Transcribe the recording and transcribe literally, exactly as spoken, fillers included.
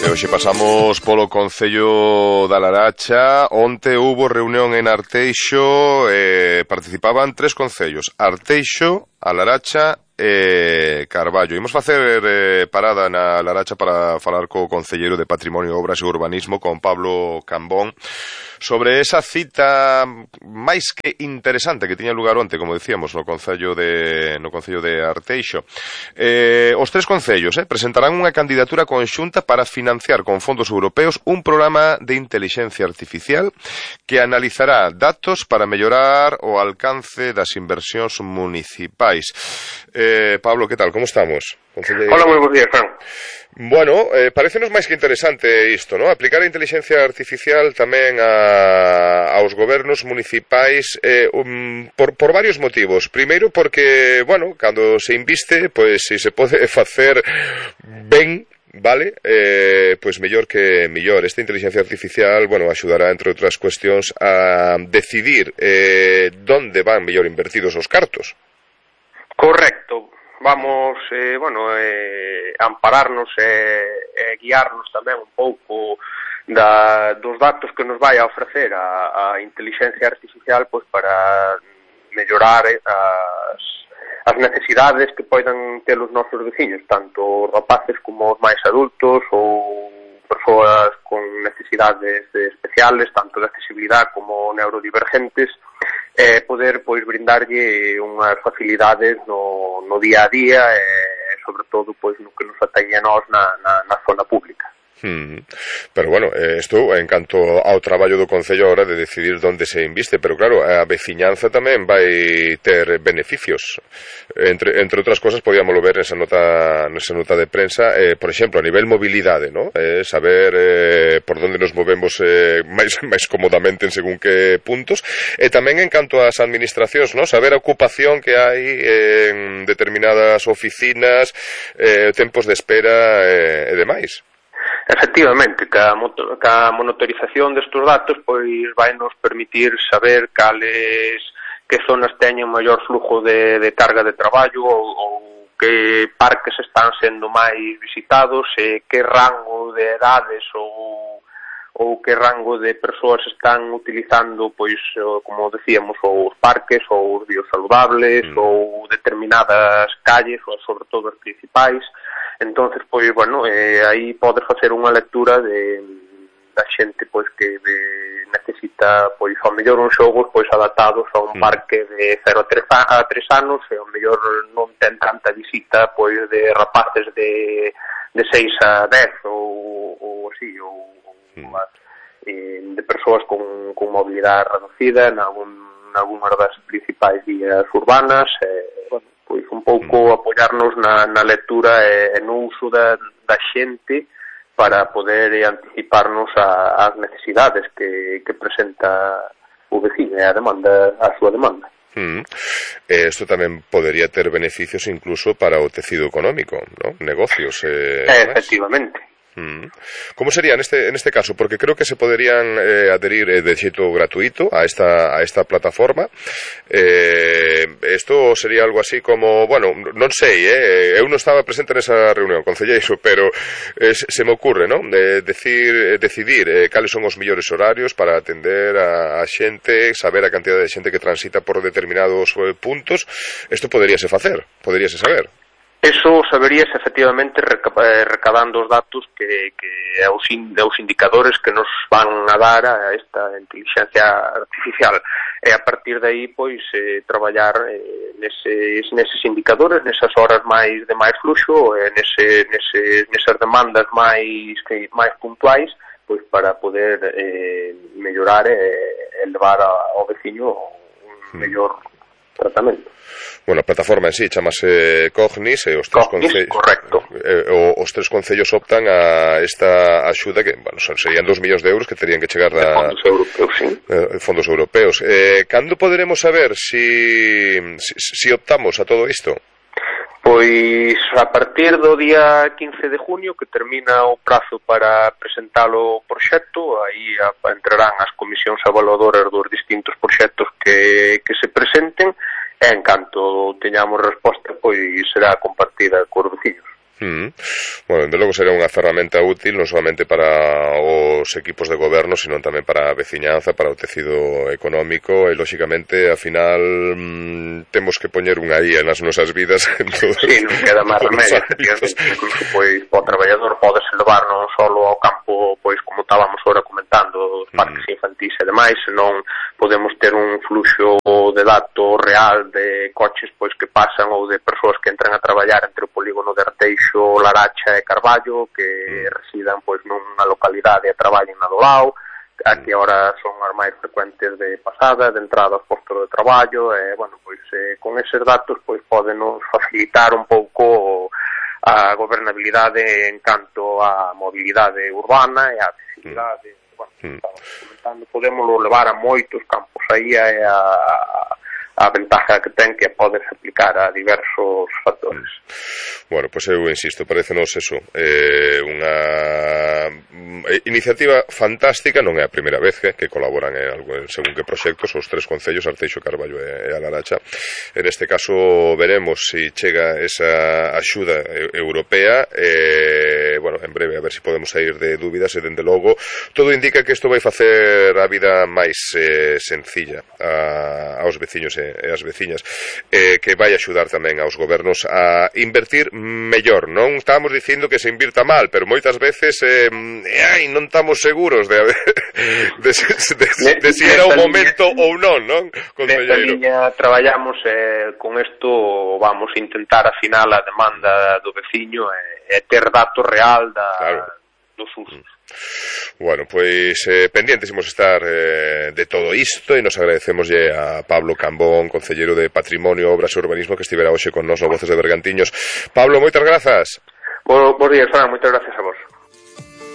E hoxe pasamos polo Concello da Laracha. Onte hubo reunión en Arteixo, eh, participaban tres concellos: Arteixo, A Laracha e Carballo. Imos facer eh, parada na Laracha para falar co concelleiro de Patrimonio, Obras e Urbanismo, con Pablo Cambón, sobre esa cita máis que interesante que tiña lugar onte, como decíamos, no Concello de no Concello de Arteixo. Eh, os tres concellos eh, presentarán unha candidatura conxunta para financiar con fondos europeos un programa de intelixencia artificial que analizará datos para mellorar o alcance das inversións municipais. Eh, Pablo, que tal? Como estamos? Concelleiro. Hola, moi bons días, Fran. Bueno, eh, parecenos máis que interesante isto, ¿no? Aplicar a inteligencia artificial tamén a, aos gobernos municipais eh, um, por, por varios motivos. Primeiro porque, bueno, cando se inviste, pois pues, se se pode facer ben, vale, eh, pois pues mellor que mellor. Esta inteligencia artificial, bueno, axudará, entre outras cuestións, a decidir eh, donde van mellor invertidos os cartos. Correcto. Vamos, eh, bueno, eh, ampararnos e eh, eh, guiarnos tamén un pouco da, dos datos que nos vai a ofrecer a, a inteligencia artificial, pois para mellorar eh, as, as necesidades que poidan ter os nosos veciños, tanto os rapaces como os máis adultos ou persoas con necesidades especiales, tanto de accesibilidade como neurodivergentes, eh, poder pois brindarlle unhas facilidades no, no día a día e eh, sobre todo pois no que nos atañe a nós na, na, na zona pública. Hmm. Pero bueno, isto en canto ao traballo do Concello ahora de decidir onde se inviste, pero claro, a veciñanza tamén vai ter beneficios. Entre, entre outras cosas, podíamoslo ver nesa nota, nesa nota de prensa, eh, por exemplo, a nivel mobilidade, ¿no? Eh, saber eh, por onde nos movemos eh, máis, máis cómodamente en según que puntos, e tamén en canto ás administracións, ¿no? Saber a ocupación que hai en determinadas oficinas, eh, tempos de espera eh, e demais. Efectivamente, que a, que a monitorización destes datos pois vai nos permitir saber cales que zonas teñen maior flujo de, de carga de traballo ou, ou que parques están sendo máis visitados e que rango de edades ou ou que rango de persoas están utilizando, pois, como decíamos, os parques ou os biosaludables mm. ou determinadas calles, ou sobre todo as principais. Entonces, pois, bueno, eh, aí podes facer unha lectura de da xente, pois, que de, necesita, pois, ao mellor uns xogos, pois, adaptados a un mm. parque de cero a tres anos, e ao mellor non ten tanta visita, pois, de rapaces de, de seis a dez, ou, ou así, ou Mm. de persoas con, con mobilidade reducida en algún, algunhas das principais vías urbanas, eh, bueno, pois un pouco mm. apoiarnos na, na lectura e, e no uso da, da xente para poder eh, anticiparnos a, as necesidades que, que presenta o veciño e a demanda, a súa demanda. Mm. Eh, esto tamén podería ter beneficios incluso para o tecido económico, ¿no? Negocios. Eh, eh, efectivamente. Mm. ¿Cómo sería en este en este caso? Porque creo que se poderían eh, adherir eh, de xeito gratuito a esta a esta plataforma. Eh, esto sería algo así como, bueno, non sei, eh, eu non estaba presente nesa reunión, concelleiro, pero eh, se me ocurre, ¿no? De decir, decidir eh, cales son os mellores horarios para atender a, a xente, saber a cantidad de xente que transita por determinados eh, puntos. Esto poderíase facer, poderíase saber. Eso saberíase efectivamente recabando os datos que, que os, in, os indicadores que nos van a dar a esta inteligencia artificial, e a partir de aí pois eh, traballar eh, neses, neses indicadores, nesas horas máis de máis fluxo, e nese, nese, nesas demandas máis que, máis puntuais, pois para poder eh, mellorar e eh, elevar ao veciño un mellor tratamento. Bueno, a plataforma en sí chamase Cognis e os tres concellos, correcto. Eh, o, os tres concellos optan a esta axuda que, bueno, son, serían dos millóns de euros que terían que chegar da fondos europeos, sí. Eh, fondos europeos. Eh, cando poderemos saber si, si si optamos a todo isto? Pois a partir do día quince de junio, que termina o prazo para presentar o proxecto, aí entrarán as comisións evaluadoras dos distintos proxectos que, que se presenten, e en canto teñamos resposta, pois será compartida cos veciños. Mm. Bueno, desde logo será unha ferramenta útil non solamente para os equipos de goberno, sino tamén para a veciñanza, para o tecido económico e, lóxicamente, a final mm, temos que poñer unha I A nas nosas vidas en todos, sí, non queda máis remedio, incluso, pois, o traballador podes levar non só ao campo, pois, como estábamos ahora comentando, os parques mm. infantis e demais, senón podemos ter un fluxo de datos real de coches, pois, que pasan ou de persoas que entran a traballar entre o polígono de Arteixo, Laracha e Carballo, que mm. residan pois nunha localidade e traballen na do lado, a que agora son as máis frecuentes de pasada, de entrada aos postos de traballo, e, bueno, pois eh, con eses datos pois podenos facilitar un pouco a gobernabilidade en canto á mobilidade urbana e á accesibilidade. Mm. Bueno, mm. estamos comentando, podemos levar a moitos campos aí a, a a ventaja que ten que podes aplicar a diversos factores. Bueno, pois pues eu insisto, parecenos eso, eh, unha iniciativa fantástica, non é a primeira vez que, que colaboran en, algo, en según que proxectos os tres concellos, Arteixo, Carballo e, e a Laracha. En este caso veremos se si chega esa axuda europea, eh, bueno, en breve a ver se si podemos sair de dúbidas e, dende logo, todo indica que isto vai facer a vida máis eh, sencilla a, aos veciños e, e as veciñas, eh, que vai axudar tamén aos gobernos a invertir mellor. Non estamos dicindo que se invirta mal, pero moitas veces eh, ai, non estamos seguros de, de, de, de, de si era o momento ou non, non? Nesta liña traballamos eh, con isto, vamos a intentar afinar a demanda do veciño e, e ter datos real da, claro. dos usos. Bueno, pois eh, pendientes imos estar eh, de todo isto e nos agradecemoslle a Pablo Cambón, concelleiro de Patrimonio, Obras e Urbanismo, que estivera hoxe con nos no Voces de Bergantiños. Pablo, moitas grazas. Bo, bos días, Fran, moitas gracias a vos.